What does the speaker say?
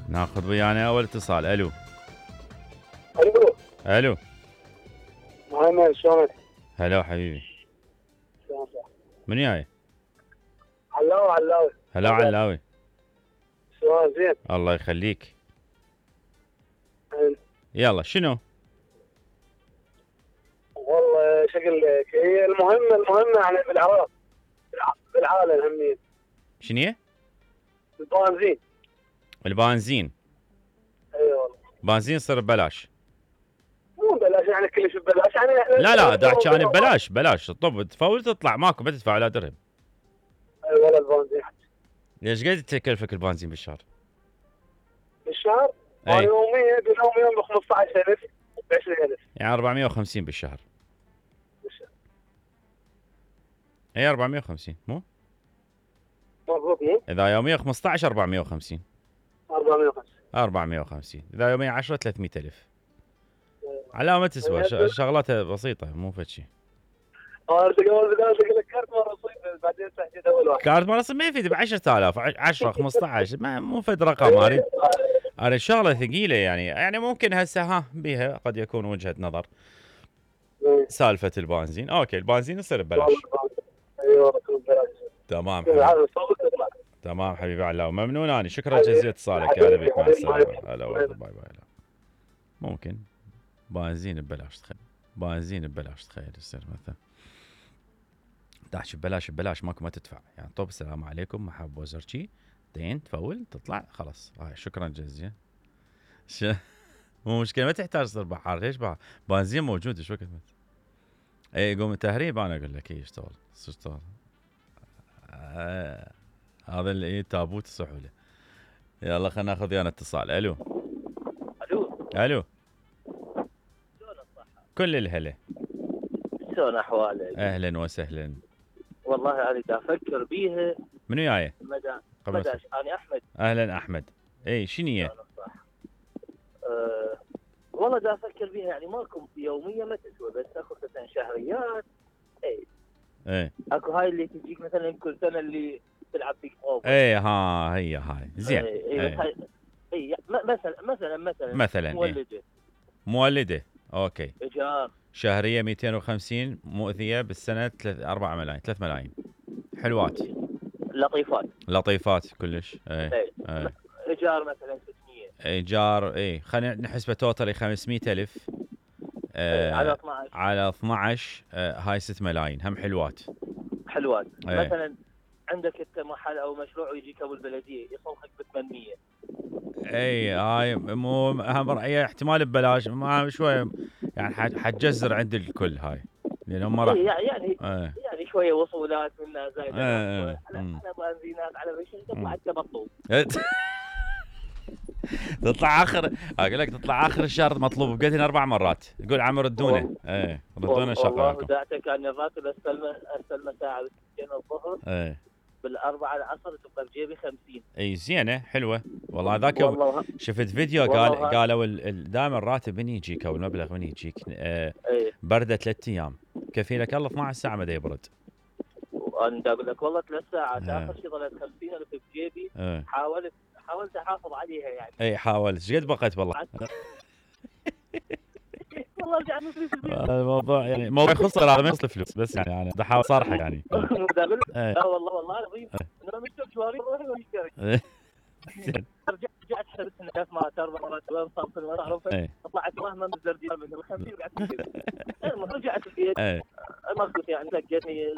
ناخذ ويانا اول اتصال. الو. الو. الو. محمد شلونك؟ هلا حبيبي. شلونك؟ من جاي؟ علاوي. هلا علاوي. شلونك زين؟ الله يخليك. حلو. يلا شنو؟ والله شكل هي المهمة يعني بالعراق بالعالم همين. شنو هي؟ البنزين. البنزين. اي والله. بنزين يصير ببلاش. مو ببلاش يعني كلش ببلاش يعني لا دا احكي عن ببلاش طب تفول تطلع ماكو ما تدفع ولا درهم. اي ولا البنزين. ليش قد تكلفك البنزين بالشهر؟ بالشهر؟ اي يوميا ب 15000 ب 20000 يعني 450 بالشهر. اي 450 مو؟ مضبوط مو؟ اذا يوميا 15 450. 450 اذا يوميا 10 300000. على ما تسوى شغلاتها بسيطه مو فد شيء. اقول لك كارت مال رصيد بعدين تحديد اول واحد. كارت مال رصيد ما يفيد ب 10000 10 15 مو فد رقم. اريد شغله ثقيله يعني ممكن هسه بيها قد يكون وجهه نظر. سالفه البنزين اوكي البنزين يصير ببلاش. ايوه ببلاش. تمام حبيبي. تمام حبيبي علاء ممنون اني شكرا جزيلا اتصالك. هلا بك مع السلامه. هلا باي باي. ممكن بنزين ببلاش تخيل. بنزين ببلاش تخيل يصير مثلا تحكي ببلاش ماكو ما تدفع يعني طب السلام عليكم محب وزرشي دين تفول تطلع خلاص. شكرا جزيلا. مو مشكله ما تحتاج تصير بحار. ليش بحار؟ بنزين موجود ايش وقت اي يقوم التهريب انا اقول لك يشتغل. هذا اللي تابوت السحوله. يلا خلينا ناخذ ويانا اتصال. الو. شلون الصحة؟ كل الهلا. شلون احوالك؟ اهلا وسهلا. والله انا دا افكر بيها. منو جاي؟ مداش انا احمد. اهلا احمد. اي شنو هي؟ والله دا افكر بيها يعني ماكو يوميه ما تسوى بس اخذ مثلا شهريات. اي اكو هاي اللي تجيك مثلا كل سنه اللي تلعب بيك اوفر. هي هاي زين. مثلا مولده اوكي. ايجار شهريه 250 مؤذيه بالسنه 4 ملايين 3 ملايين. حلوات لطيفات كلش. ايجار مثلا 600. ايجار خلينا نحسبه توتالي 500000 على 12 هاي 6 ملايين هم حلوات. مثلا عندك انت محل او مشروع ويجيك ابو البلديه يصلحك ب 800. هاي مو اهم هي احتمال ببلاش ما شويه يعني حتجزر عند الكل هاي لان هم راح يعني شويه وصولات منها زايده على بنزينات على بشيء تطلع انت مطلوب. تطلع اقول لك تطلع اخر الشهر مطلوب بقيتين 4 مرات يقول عم ردونا ردونا شغلكم. والله دعتك كان الراتب استلمه ساعه ب2 الظهر. بالاربعه العصر تبقى بجيبي 50. زينه حلوه والله. ذاك شفت فيديو قالوا دائما الراتب من يجيك او المبلغ من يجيك برده 3 ايام كفيلك الله 12 ساعه ما يبرد. وانا اقول لك والله 3 ساعات اخر شيء ظلت 50000 بجيبي. حاولت احافظ عليها يعني. حاولت ايش قد بقيت والله. والله رجعنا فلوس الموضوع يعني موضوع خسر هذا ما يخسر فلوس بس يعني انا بحاول صراحه يعني. لا والله العظيم انا مشتري شواري روحي واشتري. رجعت حسبت ان 3 مرات 4 مرات وصلت المعروف طلعت مهما بالزرديه من 50 رجعت البيت. رجعت البيت ما قلت يعني لقيتني